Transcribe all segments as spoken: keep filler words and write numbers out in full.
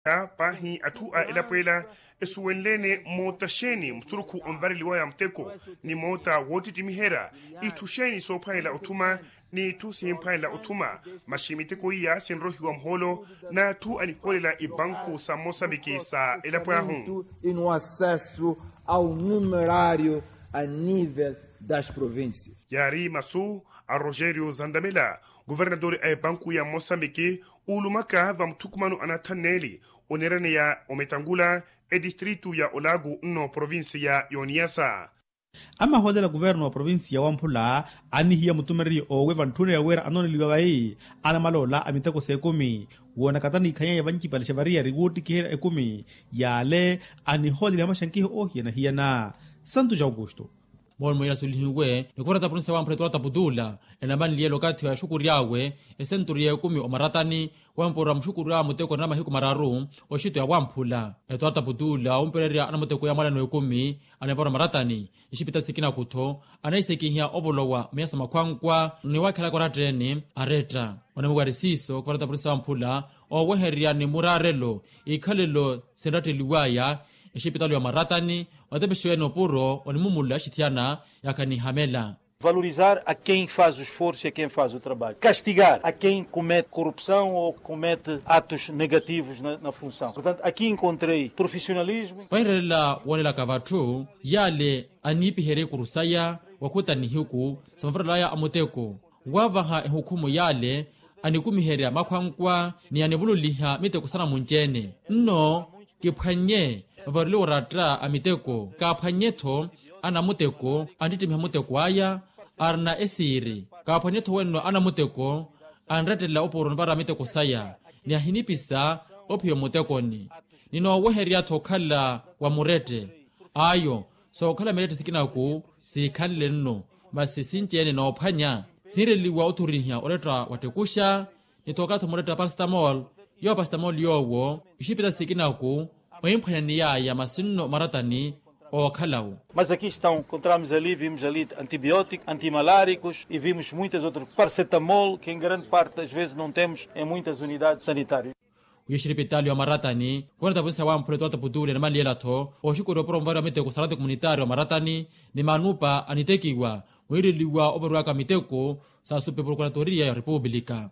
Paahi atthu a elapo ela esuwenle-ene moota xeeni musurukhu onvareliwaya muteko ni moota woottittimihera, itthu xeeni soophwanela otthuma n'itthu simphwanela otthuma. Maxi miteko iya sinrohiwa muhoolo n'atthu anihoolela ibanku sa mosambiki sa elapo ahu. E no acesso ao numerário a nível das províncias. Yaari masu a rogerio zandamela, kuvernatore a epanku ya mosambiki, uulumaka va mutthukumano anathanneeli oneeraneya ometangula etistritu ya olaku nno provinsiya y'oniyasa. Amahoolela kuverno wa provinsiya wamphula anihiya mutumereriyo owe vantthuna ya wira anooneliwa vayi anamaloola a miteko s'ekumi woonakatani ikhanyeya vancipale xa variyari woottikiherya ekumi. Yaale anihooleliha maxankiho oohiyana-hiyana. Santu ja aukusto. Moolmo yela sulihiwe ni kuvara tapunisa wamphula etuwara taputuula enamanliyela okathi wa exukury'awe esenturu y'ekumi omaratani, wamporwa muxukury'awe muteko na mahiku mararu. Oxito ya wamphula etuwara taputuula wumpererya anamuteko ya mwalano ekumi anavarwa maratani. Ixipita sikinaku-tho anaisekihiya ovolowa miyasa makhwankwa ni wakhelaka oratta-ene aretta. Onamiwari siiso kuvara tapunisa wamphula owehererya ni muraarelo ikhalelo sinratteliwaya exipitalu ya maratani. Otepexiwe-ene opuro onimumula exithiyana yakanihamela. Valorizar a quem faz o esforço e a quem faz o trabalho, castigar a quem comete corrupção ou comete atos negativos na função. Portanto, aqui encontrei profissionalismo. Vahirelela woonelaka vatthu yale aniipiherya ikuru saya wakhuta nihiku sa mavarelaya a muteko wavaha ehukhumu yale anikumiherya makhwankwa ni anivululiha miteko sa namunci-ene. Nno kiphwannye vavareliwa oratta a miteko kaaphwannye-tho anamuteko anttittimiha muteko aya arina esiiri. Kaaphwannye-tho wenno anamuteko anrettelela opuro onivara miteko saya ni ahinipisa ophiya omutekoni. Ninoowehererya-tho okhala wa murette ayo sookhala mirette sikinaku siikhanle nno masi sinci-ene noophwanya sinreliwa othurihiha oretta wattekuxa. Ni tookathi omuretta parastamol yowo parastamol yoowo ixipita sikinaku oimphwanyaniyaya masi nno maratani ookhalawo. Mas aqui estão encontramos ali vimos ali antibióticos antimaláricos e vimos muitas outras paracetamol que em grande parte das vezes não temos em muitas unidades sanitárias. Wiixiripitalu ya maratani kuvanetta punisa wamphula etuwara taputuule ni manliyela-tho oxukuri opuro onvariwa miteko sa rati komunitaari wa maratani ni manupa anitekiwa wiireliwa ovarowaka miteko sa supe prokuratoria ya repupulika.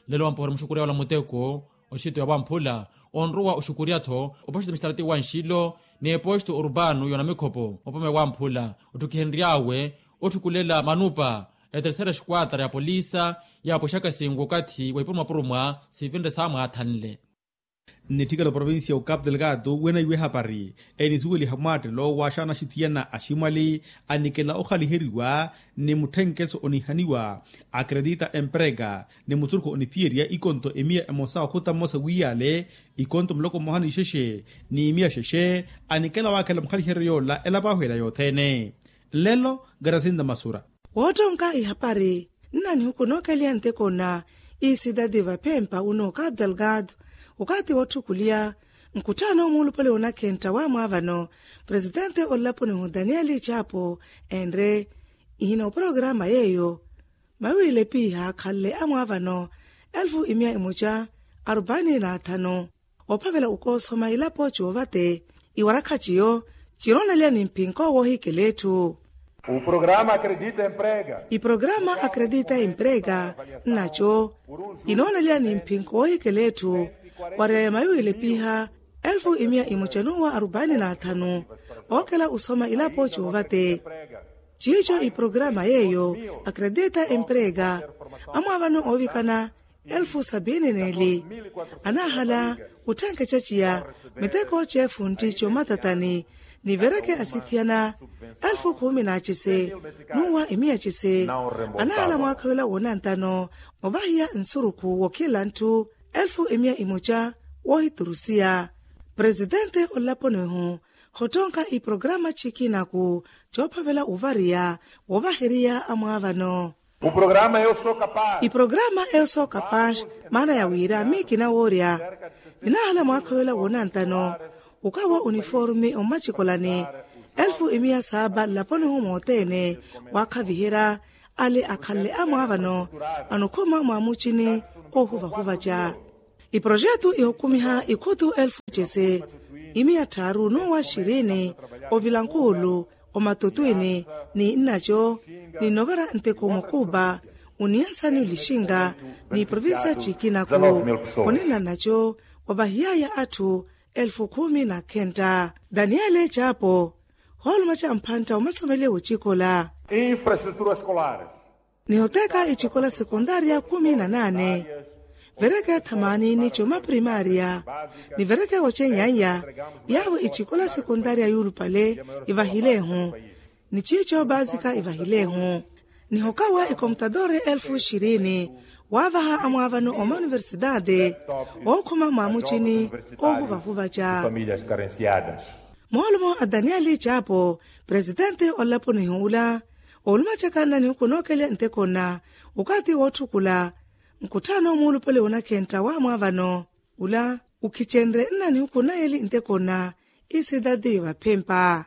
Lelo wampohera muxukurya wala muteko oxito ya wamphula onrowa oxukurya-tho opoxito mixtarati wa nxilo ni epoxito urbano y'onamikhopo opome wamphula otthukihenry'awe otthukulela manupa etersera esquadra ya polisa yaapwexaka singu okathi wa ipurumwa-purumwa sivinre saamwaathanle. Nnitthikela oprovincia ya ocapu delgado wenaiwe ehapari enisuweliha mwaattelo waaxaana axithiyana aximwali anikela okhaliheriwa ni mutthenkeso onihaniwa akredita emprega ni musurukhu oniphiyerya ikonto emiya emosa okhuta mmosa wiiyale ikonto muloko mmoha n'ixexe ni miya xexe anikela waakhela mukhaliheryo yoola elapo ahu ela yothene. Nlelo karasinta masura. Woottonka ihapari nna nihuku nookeliha nteko nna isidadi vaphempa uno capu delgado okathi wootthukuliya nkutthano muulupale woonakhenta wa mwaavano presitente olaponi hu daniel chapo enre ihina oporokaramu yeeyo mawiile piiha akhanle a mwaavano elfu imiya imoca arupaini na athanu. Ophavela okoosoma ilapo coovate iwarakha ciyo cinoonaliya ni mphinko woohikela etthu. Iprograma akredita emprega nnaco inoonaliya ni mphinko woohikela etthu. Wareya ya mawiwile piiha elfu imiya imoca nuwa arupaini na athanu ookela osoma ilapo coovate. Ciico iprograma yeeyo akredita emprega amwaavano oovikana elfu sapiini n'eli anaahala otthenkeca ciya miteko c'efuntti c'omatatani nivereke asithiyana elfu khuumi n'acese n'uwa imiya cese anaahala mwaakha wila woonantano ovahiya nsurukhu wookhila ntthu elfu imiya imoca woohiturusiya. Presitente olaponi-hu khottonka iprograma cikinaku coophavela ovariya woovaheriya amwaavano. Iprograma eyo sookapax maana ya wira miikina woorya ninaahala mwaakha wela woonantano okawa uniformi ommacikolani elfu imiya saapa nlaponi-hu moothene waakhaviherya ale akhanle amwaavano anokhuma mwaamucini oohuvahuvaca. Iprojetu ihukumiha ikhutu elfu cese imiya tthaaru n'uwa xirini ovilankuulu omatutwini ni nnaco ni novera nteko mukuupa oniyansani olixinga ni provincia cikinaku onina nnaco wavahiyaya atthu elfu khumi na khentta. Daniele capo hoolumaca mphantta omasomele wocikola infraestrutura escolares. Nihoteeka icikola sekontaria khumi na naane vereke thamaani ni coma primaria ni vereke wocenyaanya yaawo icikola sekontaria yuulupale ivahileehu ni ciico baasika ivahileehu nihokawa ikomputadore elfu xirini waavaha amwaavano omauniversitati ookhuma mwaamucini oohuvahuvaca. Moolumo a danieli capo presitenti olapunihi ula oolumacaka nnanihuku nookelya ntekonna okaati wootthukula nkutthano muulupale wonakhentta wamwaavano ula ukhicenre nnanihuku nayeli ntekonna isitati vaphempa.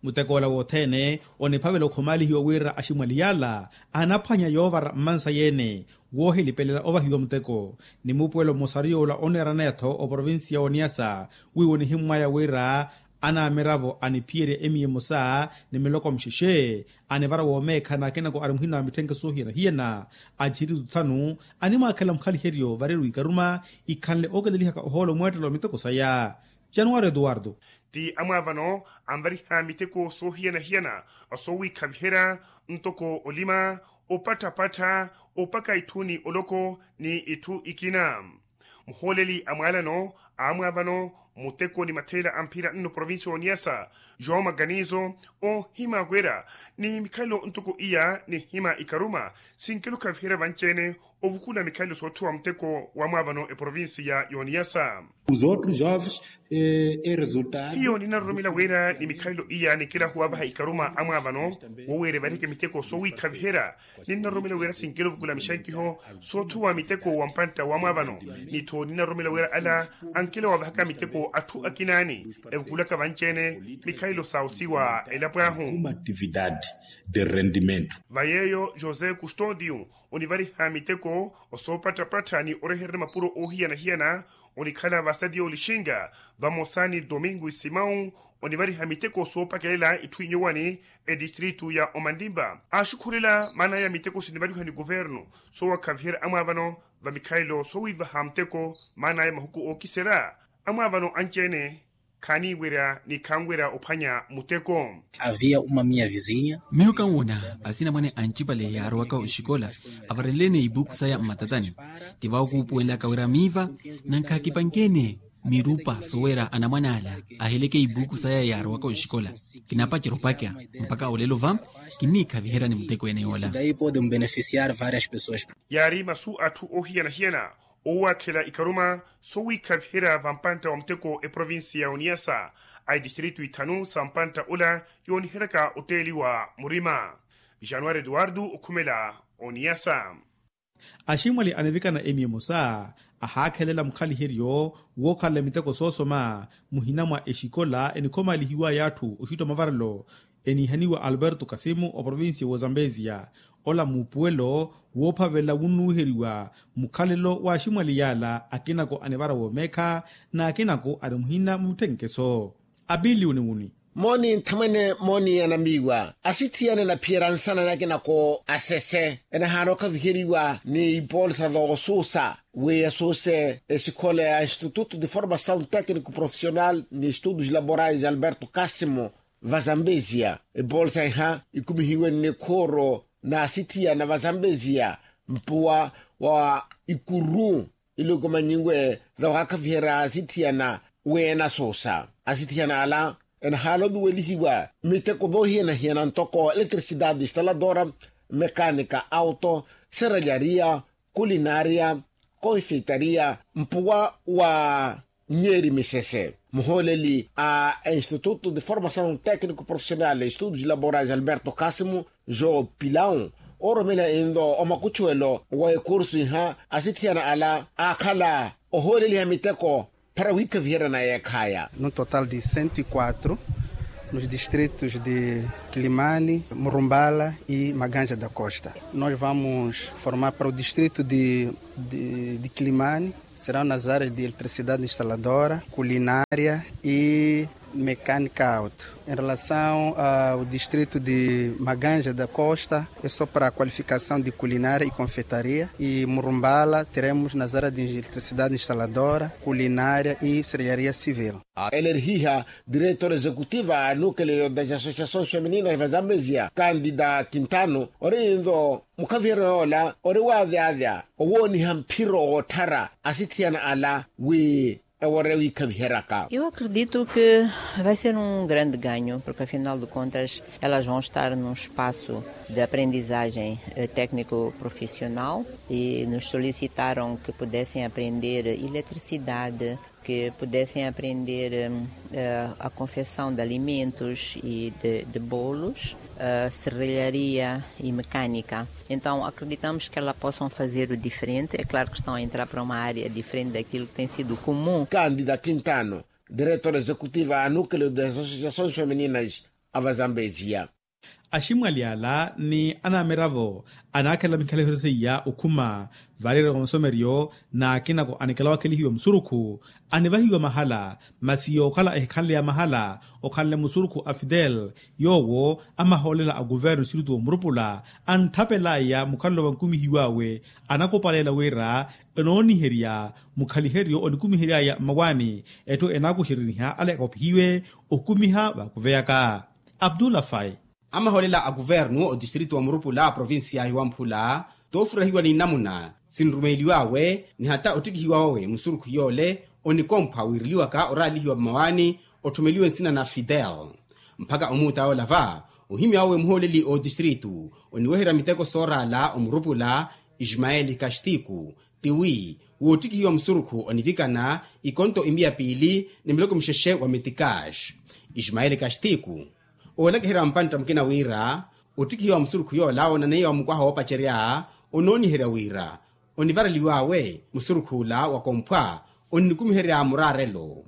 Mutekoola wothene oniphavela okhumaalihiwa wira aximwali yaala anaphwanya yoovara mmansa yeene woohilipelela ovahiwa muteko ni mupuwelo mmosa ariyoola oneerana yatho oprovincia ya oniyasa wiiwo nihimmwaya wira anaamiravo aniphiyerya emiya emosa ni miloko mixexe anivara woomeekha n'akinako ari muhina wa mitthenke soohiyana-hiyana. Atthiritu thanu animwaakhela mukhaliheryo vareru ikaruma ikhanle ooketelihaka ohoolo mweettelo wa miteko saya januwari etuwartu. Ti amwaavano anvariha miteko soohiyana-hiyana soowiikhaviherya ntoko olima opatthapattha opaka itthu ni oloko ni itthu ikina. Muhooleli a mwaalano a amwaavano muteko ni matheela a mphira nno provincia oniyasa joão maganizo oohima wira ni mikhalelo ntoko iya nihima ikaruma sinkelo khaviherya vanci-ene ovukula mikhalelo soothuwa muteko wa amwaavano eprovincia ya oniyasa. Hiyo ninnaroromela wira ni mikhalelo iya ninkelahuwa vaha ikaruma amwaavano wowiira evariheke miteko soowiikhaviherya ninnaroromela wira sinkela ovukula mixankiho soothuwa miteko wa mpantta wa mwaavano ni tho ninnaroromela wira ala ankela wavahaka miteko atthu akinaani evukulaka vanci-ene mikhalelo sa osiwa elapo ahu. Kuma atividade de rendimento. Va yeeyo josé custodio onivariha miteko osoopatthapattha ni orehererya mapuro oohiyana-hiyana onikhala vasitatiyo olixinga vamosa ni domingo isimau onivariha miteko soopakelela itthu inyuwani etistritu ya omanlimpa aaxukhurela maanaya miteko sinivariha ni kuvernu soowakhaviherya amwaavano va mikhalelo soowiivaha muteko maanaya mahuku ookiserya amwaavano anci-ene khaaniiwerya ni khanwerya ophwanya muteko. Havia uma minha vizinha. Miyo kanwona asinamwane ancipale yaarowaka oxikola avarenle-ene ipuuku saya mmatatani ti vawo kuupuwenlaka wira miiva nankha kipanke-ene mirupa sowera anamwane ala aheleke ipuuku saya yaarowaka oxikola kinapacerya opaka mpakha olelo va kinniikhaviherya ni muteko ene yoola. Yaari masu atthu oohiyana-hiyana oowaakhela ikaruma sowiikhaviherya vampantta wa muteko eprovincia ya oniyasa a itistritu ithanu sa mpantta ola yooniheryaka otteeliwa murima. Januwari etuwartu okhumela oniyasa. Aximwali anivikana emiya emosa ahaakhelela mukhaliheryo wookhalela miteko soosoma muhina mwa exikola enikhomaalihiwaya atthu oxutta mavarelo eniihaniwa alberto kasimu oprovincia w'ozambesia ola muupuwelo woophavelela wunnuwiheriwa mukhalelo w'aximwali yaala akinako anivara woomeekha n'akinako ari muhina mwa mitthenkeso. Apili uniwuni. Mooni nthamwene mooni anamiiwa asithiyana enaphiyerya nsana n'akinako asese enahaana okhaviheriwa ni ipoolisa thoosuusa wi asuuse esikhola ya instituto de formasaw tecnico profissional ni estudos laborais alberto casimo. Vazambesia epoolisa iha ikumihiwe nnikhuuro n'asithiyana vazambesia mpuwa wa ikuru. Iluku manyiwe thawaakhaviherya asithiyana wi enasuusa asithiyana ala enahaala oviwelihiwa miteko voohiyana-hiyana ntoko eletricidade instaladora mekanika auto seralyaria kulinaria konfeitaria mpuwa wa nyeeri misese. Muhooleli a instituto de formasaw tecnico profissional estudos laborais alberto casimo joe pilau ooromela inlo omakuchuwelo wa ekursu iha asithiyana ala aakhala ohooleliha miteko para wiikhaviherya na yeekhaya. Num total de cento e quatro. Nos distritos de Kilimani, Murumbala e Maganja da Costa. Nós vamos formar para o distrito de, de, de Kilimani, serão nas áreas de eletricidade instaladora, culinária e mecânica auto. Em relação ao distrito de Maganja da Costa, é só para a qualificação de culinária e confeitaria. E Murumbala, teremos nas áreas de eletricidade instaladora, culinária e serralharia civil. Ela erihiha diretora exekutiva a nukele yo das associações femininas va Zambezia, Candida Quintano, ori nto mukhaviheryo yoola ori waavyavya owooniha mphiro wootthara asithiyana ala wi ewore wiikhaviheryaka. Eu acredito que vai ser um grande ganho, porque afinal de contas elas vão estar num espaço de aprendizagem técnico-profissional e nos solicitaram que pudessem aprender eletricidade, que pudessem aprender a confecção de alimentos e de bolos, serralharia e mecânica. Então acreditamos que elas possam fazer o diferente. É claro que estão a entrar para uma área diferente daquilo que tem sido comum. Candida Quintano, diretora exekutiva a nukele das associações femininas a va Zambezia. Aximwali ala ni anamiravo anaakhela mikhaliheryo seiya okhuma, vaariyerya wa masomeryo n'akinako anikela wakhelihiwa musurukhu anivahiwa mahala. Masi yookhala ehikhanleya mahala okhanle musurukhu a fidel, yoowo amahoolela a kuvernu siriti womurupula antthapelaya mukhalelo vankumihiw'awe. Anakupaleela wira enooniherya mukhaliheryo onikumihery'aya mmawaani, etthu enaakuxeriniha ale akopihiwe okumiha vaakuveyaka. Abdullah Fai. Amahoolela a kuvernu otistrito wa murupula a provincia hiwamphula toofurahiwa ni namuna sinrumeeliw'awe ni hata ottikihiwa wawe musurukhu yoole onikomphwa wiireliwaka oraalihiwa mmawaani otthumeliwe nsina na fidel. Mphaka omuuta yoola va ohimya wawe muhooleli otistrito oniweherya miteko sooraala omurupula ismaeli kastiku, tiwi woottikihiwa musurukhu onivikana ikonto imiya piili ni miloko mixexe wa mitikax. Ismaeli kastiku oolakiherya mpantta mukina wira ottikihiwa musurukhu yoola onaneiwa mukwaha woopacerya onooniherya wira onivareliw'awe musurukh'ula wakomphwa onnikumiherya muraarelo.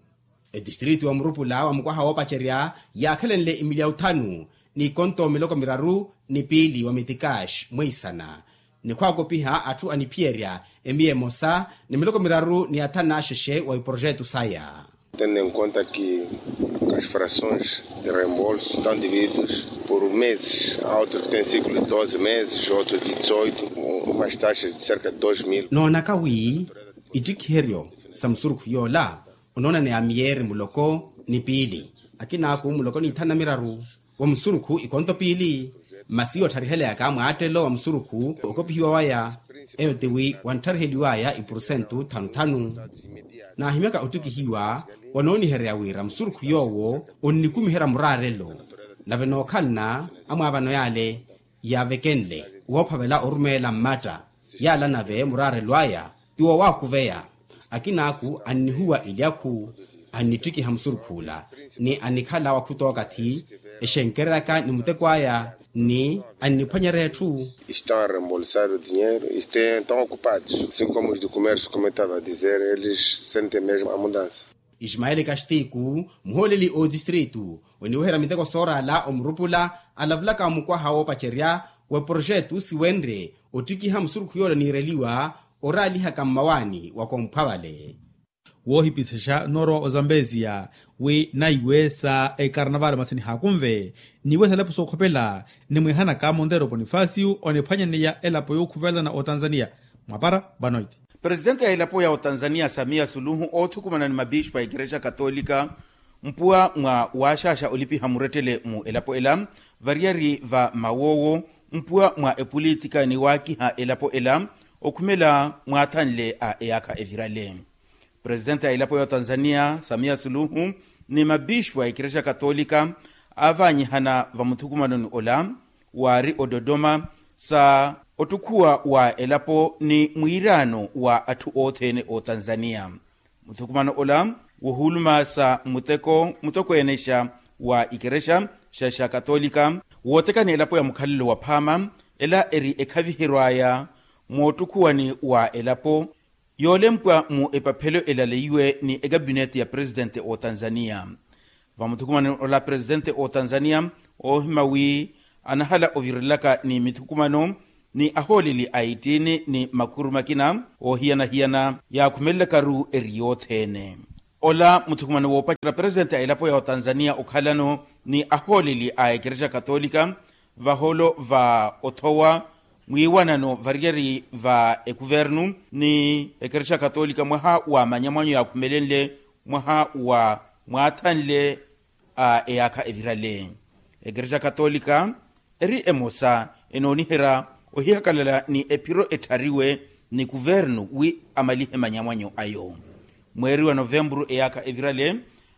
Etistrito wa murupula wa mukwaha woopacerya yaakhelenle imilyawu thanu n'ikonto miloko miraru ni piili wa mitikax mweisana ni khwaakopiha atthu aniphiyerya emiya emosa ni miloko miraru ni athanu axexe wa iprojetu saya. Tendo em conta que as frações de reembolso estão divididos por meses, há outros que têm ciclo de doze meses, outros de dezoito, umas taxas de cerca de dois mil. Noonaka wi ittikiheryo sa musurukhu yoola onoonaneya miyeeri muloko ni piili, akinaaku muloko ni thanu na miraru wa musurukhu ikonto piili. Masi yootthariheleya kaamwaattelo wa musurukhu okopihiwa waya eyo tiwi wanthariheliwaya ipurusentu thanu thanu. Naahimyaka ottikihiwa wanooniherya wira musurukhu yoowo onnikumiherya muraarelo. Nave nookhalana amwaavano yaale yaavekenle woophavela orumeela mmatta yaala nave muraarelo aya ti wowaakuveya. Akinaaku annihuwa ilyakhu annittikiha musurukh'ula ni anikhala wakhutookathi exenkereryaka ni muteko aya ni anniphwanyerya etthu. Estão a reembolsar o dinheiro e estão ocupados, assim como os do comércio como eu estava a dizer eles sentem mesmo a mudança. Ismaeli kastiku muhooleli otistritu oniweherya miteko sooraala omurupula alavulaka mukwaha woopacerya wa projetu siwenre ottikiha musurukhu yoola oniireliwa oraalihaka mmawaani wa komphwa vale. Woohipisexa noorowa ozambezia wi naiwe sa ekarnavali masi nihaakunve niwe sa elapo sookhopela nimwihanaka monteiro ponifasio oniphwanyaneya elapo yookhuvelana otanzania. Mwapara vanoiti. Presitente ya elapo ya otanzania samia suluhu oothukumana ni mabispu a ikerexa katolika mpuwa mwa waaxaaxa olipiha murettele mu elapo ela variyari va mawoowo mpuwa mwa epolitika ni waakiha elapo ela okhumela mwaathanle a eyaakha evirale. Presitente a elapo ya otanzania samia suluhu ni mabispu a ikerexa katolika aavaanyihana vamuthukumanoni ola waari ododoma sa ottukhuwa wa elapo ni mwiiraano wa atthu othene otanzania. Muthukumano ola wohuluma sa muteko mutokweenexa wa ikerexa xa xa katolika wootekani elapo ya mukhalelo wa phaama ela eri ekhaviheryo aya moottukhuwani wa elapo yoolempwa mu epaphelo elaleiwe ni ekapineti ya presitente otanzania. Vamuthukumano ola presitente otanzania oohima wi anahala ovirelaka ni mithukumano ni ahooleli a ittiini ni makhuru makina oohiyana-hiyana yaakhumelelakaru eri yothene. Ola muthukumano woopacerya presitente a elapo ya otanzania okhalano ni ahooleli a ekerexa katolika vahoolo va othowa mwiiwanano variyari va ekuvernu ni ekerexa katolika mwaha wa manyamwanyo yaakhumelenle mwaha wa mwaathanle a eyaakha evirale. Ekerexa katolika eri emosa enooniherya ohihakalala ni ephiro etthariwe ni kuvernu wi amalihe manyamwanyo ayo. Mweeri wa novempuru eyaakha evirale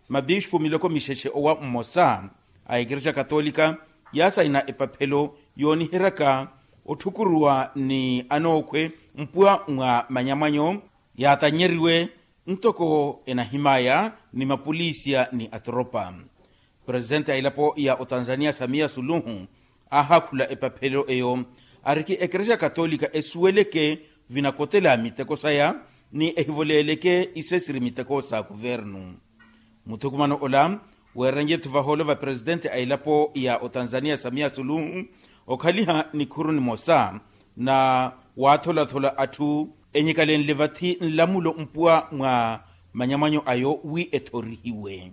mapixpu miloko mixexe owa mmosa a ekerexa katolika yaasayina epaphelo yooniheryaka otthukuruwa ni anookhwe mpuwa mwa manyamwanyo yaatannyeriwe ntoko enahimaya ni mapolisiya ni atoropa. Presitente a elapo ya otanzania samia suluhu aahaakhula epaphelo eyo ariki ekerexa katolika esuweleke vinakotela miteko saya ni ehivoleeleke isesiri miteko sa kuvernu. Muthukumano ola weerenye-tho vahoolo va presitente a elapo ya otanzania samia suluhu okhaliha nikhuru nimosa na waatholathola atthu enyikalenle vathi nlamulo mpuwa mwa manyamwanyo ayo wi ethorihiwe.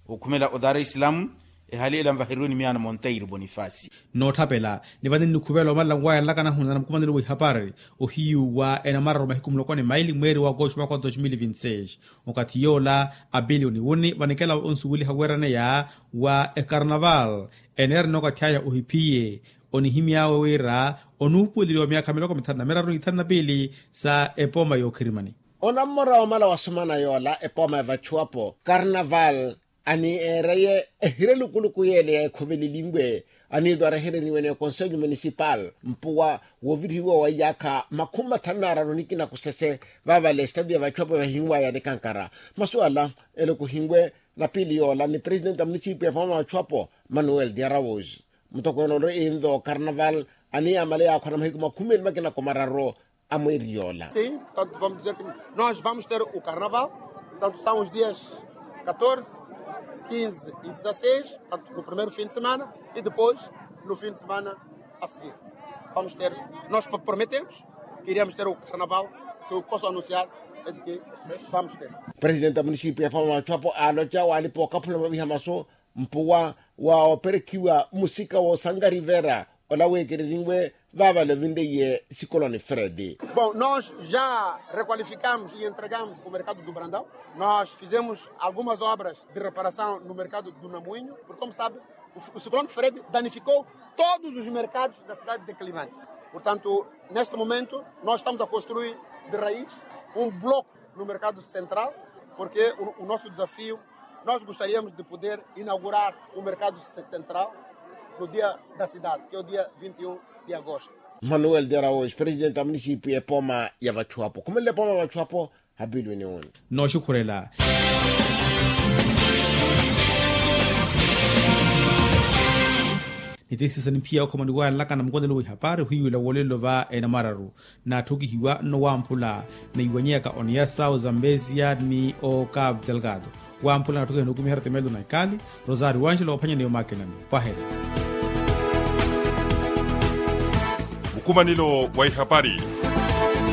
Okhumela o dar es salaam ehali ela nvaheriwe ni miyaano monteiro bonifasi. Nootthapela ni vani nnikhuvela omalela nwayanlaka nahunana mukumanelo wa ihapari ohiyu wa enamararu mahiku muloko ni maili mweeri wa agosto mwaka wa dos mil vinti seis. Okathi yoola apili oniwuni vanikela onsuweliha weeraneya wa ekarnaval eneerina okathi aya ohiphiye onihimy'awe wira onuupuweleliwa myaakha miloko mithanu na miraru ni ithanu na piili sa epooma yookhirimani. Onammora wamala wasumana yoola epooma ya vachuwapo karnaval aniireye ehire lukuluku yeele ya ekhuveleliwe aniitwarehereniwe ni ekonselho munisipal mpuwa woovirihiwa wa iyaakha makhumi mathanu n'araru nikina kusese vaavale estadi ya vachuwapo vahinwaya nikankara. Masuwala ele kuhinwe na piili yoola ni presidenti a munisipiyu ya pamama vachuwapo manuel diaraus. Mutokweene ole inzo karnaval aniiyamale yaakhona mahiku makhumi eli makina kumararu a mweeri yoola. Sim, portanto vamos dizer que nós vamos ter o carnaval, portanto são os dias catorze, quinze e dezasseis, portanto no primeiro fim de semana e depois no fim de semana a seguir vamos ter, nós prometemos que iríamos ter o carnaval, que eu posso anunciar é de que vamos ter. Presidente a munisipiyu ya pamama vachuwapo aaloca waalipa okaphula maviha masu mpuwa wa operekhiwa musika woosankarivera ola weekereriwe vaavale ovinleiye sikoloni fredi. Bom nós já requalificamos e entregamos o mercado do brandão. Nós fizemos algumas obras de reparação no mercado do namuinho porque como sabe o sikoloni fredi danificou todos os mercados da cidade de kilimani. Portanto neste momento nós estamos a construir de raiz um bloco no mercado central porque o nosso desafio nós gostaríamos de poder inaugurar o mercado central no dia da cidade que é o dia vinte e um de agosto. Manuel de araus presidente a munisipiyu ya epoma ya vachuwapo khumelela epoma ya vachuwapo. Hapilwini uni. Nooxukhurela. Nitisiisa nimphiya okhoma niwayanlaka na mukonelo w'ihapari ohiyuwela woolelo va enamararu. Naatthukihiwa nno wamphula neiwanyeyaka oniyasa ozambesia ni okapu delgado. Wamphula naatthukihiwa nookumiherya temelo na ikali. Rosario wanxela oophwanya ni omaakinani. Pwahela. Mukumanelo wa ihapari.